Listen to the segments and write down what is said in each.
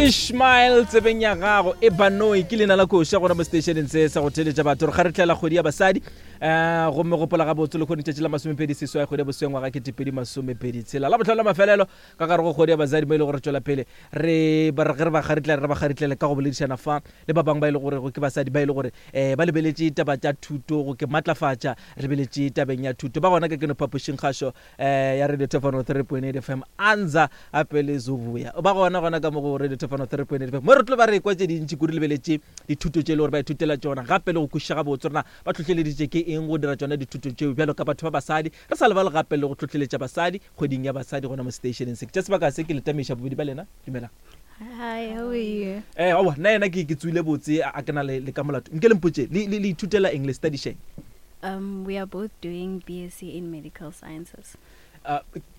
Ishmael tsebeng ya gago e banoi ke leina la koša gona mo seteišeneng se sa go theletša batho re kgaretlela kgwedi ya basadi um gomme gopola gabotse le kgone tšatši la masomepedi seswai kgwedi ya bosweng ngwaga ketepedi masomepedi tshela la botlhano la mafelelo ka gare go kgwedi ya basadi mo e le gore tšwela pele re ba re ge re ba kgaretlela re ba kgaretlele ka go boledišana fa le ba bangwe ba e le gore ke basadi ba e le gore um ba lebeletše taba tša thuto go ke matlafatša re lebeletše tabeng ya thuto ba gona ka keno phapošing kgašo eh ya Radio Tefano 3.8 FM anza gape le Zobuya ba gona gona ka mo go Radio Tefano 3.8 FM mo re tlo ba re kwa tše dintši kudu lebeletše dithuto tše le gore ba ithutela tšona gape le go kwešiša gabotse rena ba tlhohleleditše ke eng go dira tšona dithuto tšeo bjalo ka batho ba basadi re sa lebale gape le go tlhohleletša basadi kgweding ya basadi gona mo stationeng se ke tša sebaka se ke le tamiša bobedi ba lena dumelang. Hi, how are you? Eh, aowa, nna yena ke ke tsoile botse a ke na le le ka molato. Nke le mpotše, le le le ithutela eng le studyšeng? We are both doing BSc in Medical Sciences.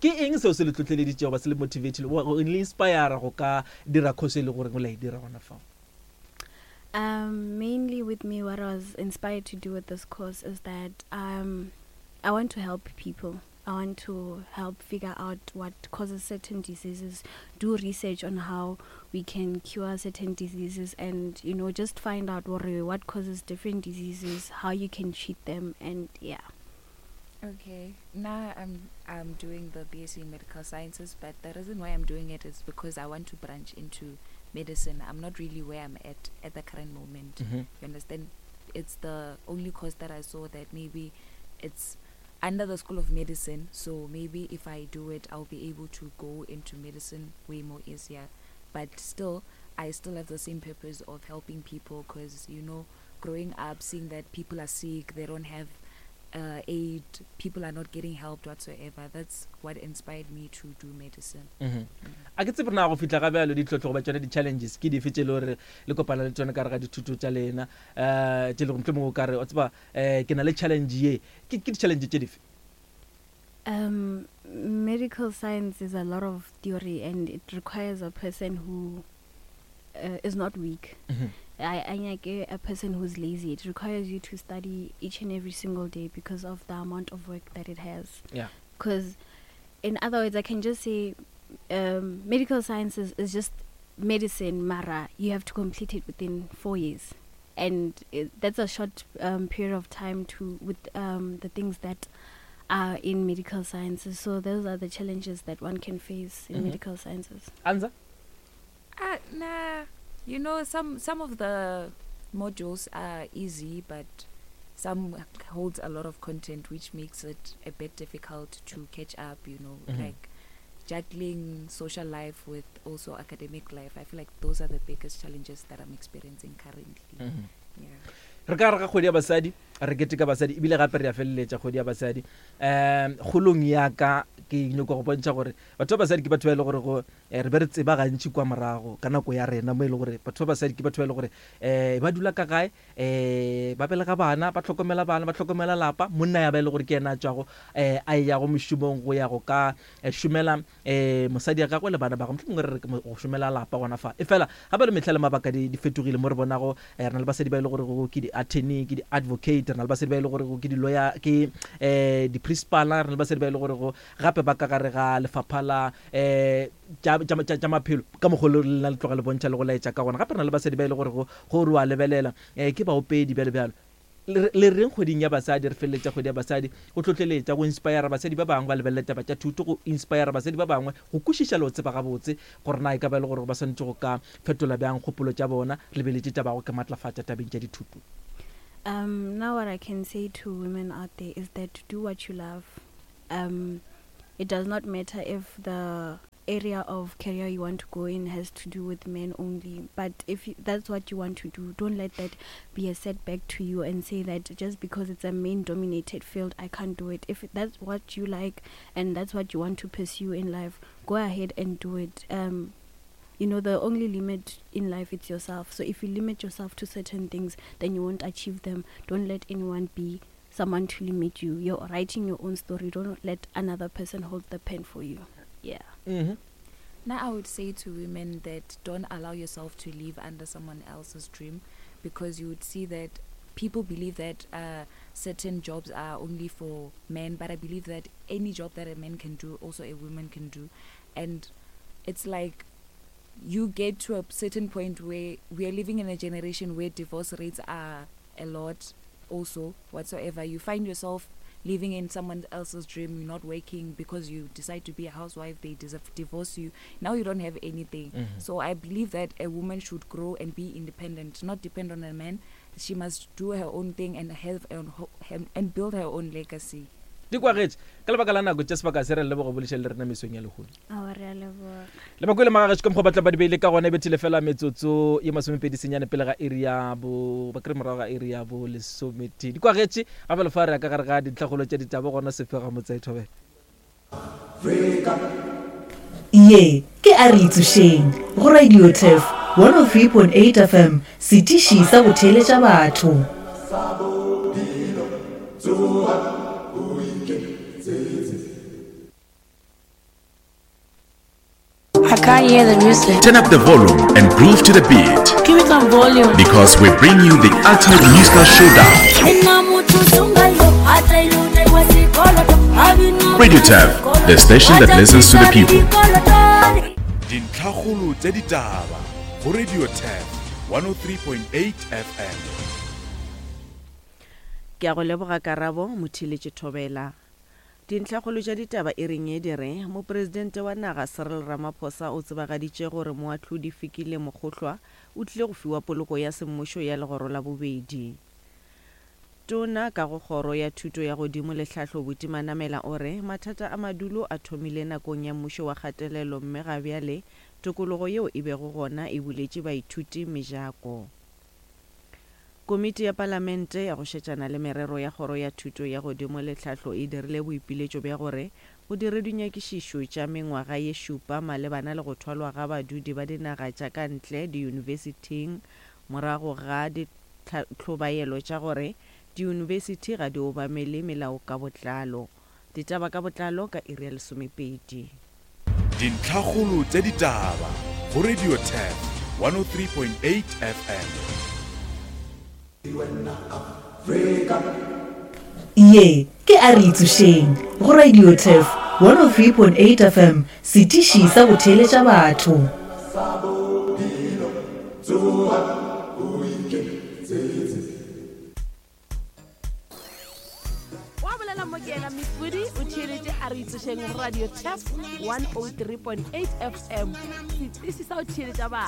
Ke eng seo se le tlotleleditšego ba se le motivatile go le inspire go ka dira course e le goreng la e dira gona fao? Mainly with me, what I was inspired to do with this course is that I want to help people. I want to help figure out what causes certain diseases, do research on how we can cure certain diseases, and you know, just find out what, what causes different diseases, how you can treat them, and yeah. Okay, now I'm I'm doing the BSc in Medical Sciences, but the reason why I'm doing it is because I want to branch into medicine. I'm not really where I'm at at the current moment. Mm-hmm. You understand? It's the only course that I saw that maybe it's under the School of Medicine, so maybe if I do it, I'll be able to go into medicine way more easier. But still, I still have the same purpose of helping people because, you know, growing up, seeing that people are sick, they don't have uh, aid, people are not getting helped whatsoever. That's what inspired me to do medicine. Mm -hmm. A ke tsebe na go fihla ga bjalo ditlhohlo goba tšone di-challenges ke dife tše le gore le kopana le tšone ka re ga dithuto tša lena um tše le gore mohlomongwe o ka re o tseba um ke na le challenge ye ke ke di-challenge tše dife? Medical science is a lot of theory and it requires a person who is not weak. I nyake a person who's lazy. It requires you to study each and every single day because of the amount of work that it has. Yeah. Because in other words, I can just say medical sciences is just medicine, mara. You have to complete it within 4 years. And that's a short period of time to with the things that are in medical sciences. So those are the challenges that one can face in medical sciences. Anza? Nah, you know, some of the modules are easy, but some holds a lot of content, which makes it a bit difficult to catch up, you know, like juggling social life with also academic life. I feel like those are the biggest challenges that I'm experiencing currently. Yeah. Re ka re ga kgwedi ya basadi re keteka basadi ebile gape re ya feleletša kgwedi ya basadi um kgolong ya ka ke nyoko go bontšha gore batho ba basadi ke batho ba e le gore go re be re tseba gantši kwa morago ka nako ya rena mo e le gore batho ba basadi ke batho ba e le gore um ba dula ka gae um ba belega bana ba hlokomela bana ba hlokomela lapa monna ya ba e le gore ke yena a tšwago um a eyago mošomong go ya go ka šomela um mosadi ya gagwe le bana ba gagwe mohlomongwe re re go šomela lapa gona fa. Efela gape le mehla le mabaka di di fetogile mo re bonago re na le basadi ba e le gorego ke di-attorney, ke di-advocate, re na le basadi ba e le gorego ke di-lawyer, ke um di-principal-a, re na le basadi ba e le gorego gape ba ka gare ga lefapha la um tša, tša, tša, tša maphelo ka mokgwa o le lena le tloga le bontšha le go laetša ka gona. Gape re na le basadi ba e le gorego go re wa lebelela um ke baopedi bjalo bjalo. Le, le reng kgweding ya basadi, re feleletša kgwedi ya basadi, go hlohleletša, go inspayara basadi ba bangwe ba lebelele taba tša thuto, go inspayara basadi ba bangwe go kwešiša le go tseba gabotse gore na e ka ba e le gore ba swanetše go ka fetola bjang kgopolo tša bona, re lebeletše taba ya go ke matlafatša tabeng tša dithuto. Now what I can say to women out there is that do what you love. It does not matter if the area of career you want to go in has to do with men only, but if that's what you want to do, don't let that be a setback to you and say that just because it's a main dominated field I can't do it. If that's what you like and that's what you want to pursue in life, go ahead and do it. You know, the only limit in life is yourself. So if you limit yourself to certain things, then you won't achieve them. Don't let anyone be someone to limit you. You're writing your own story. Don't let another person hold the pen for you. Yeah. Now I would say to women that don't allow yourself to live under someone else's dream, because you would see that people believe that certain jobs are only for men, but I believe that any job that a man can do, also a woman can do. And it's like You get to a certain point where we are living in a generation where divorce rates are a lot also whatsoever. You find yourself living in someone else's dream. You're not working because you decide to be a housewife. They divorce you. Now you don't have anything. So I believe that a woman should grow and be independent, not depend on a man. She must do her own thing and have her own and build her own legacy. Di kwagetše ka lebaka la nako tša sebaka se re leboga bolešeng le rena mesong ya lehono. Aowa, re a leboga. Le bakwele magagešo ka mokgwa ba tla ba di beile ka gona e bethile fela metsotso ye 29 pele ga iri ya bo ba kry morago ga iri ya bo lesometee. Di kwagetše gape le fa re ya ka gare ga dintlhakgolo tša ditaba gona Sefega Motsae Thobela. Ye ke A Re Itsošeng go Radio Turf 103.8 FM, setiši sa go theeletša batho. I can't hear the music. Turn up the volume and groove to the beat. Give me some volume. Because we bring you the ultimate musical showdown. Radio Turf, the station that listens to the people. Dintlhakgolo tša ditaba go Radio Turf 103.8 FM. Ke a go leboga Karabo, Motheeletši Thobela. Dintlhakgolo tša ditaba e reng ye di re, Mopresidente wa naga Cyril Ramaphosa o tsebagaditše gore moahlodi Fikile Mokgohlwa o tlile go fiwa poloko ya semmušo ya legoro la bobedi. Tona ka go kgoro ya thuto ya godimo le tlhahlo Buti Manamela o re mathata a madulo a thomile nakong ya mmušo wa kgatelelo mme ga bjale tokologo yeo e bego gona e buletše baithuti mejako. Komiti ya Palamente ya go šetšana le merero ya Kgoro ya Thuto ya Godimo le Tlhahlo e dirile boipiletšo bja gore go dirwe dinyakišišo tša mengwaga ye šupa malebana le go thwalwa ga badudi ba dinaga tša ka ntle diyunibesithing morago ga ditlhobaelo tša gore diyunibesithi ga di obamele melao ka botlalo. Ditaba ka botlalo ka iri ya lesomepedi. Dintlhakgolo tša ditaba go Radio Turf 103.8 FM. Ye ke A Re Itsošeng go Radio Turf 103.8 FM, setiši sa go theeletša batho. Wa bolela mo ke yena Miss Woody o theeletše a re itsošeng Radio Tef 103.8 FM, setiši sa go theeletša batho.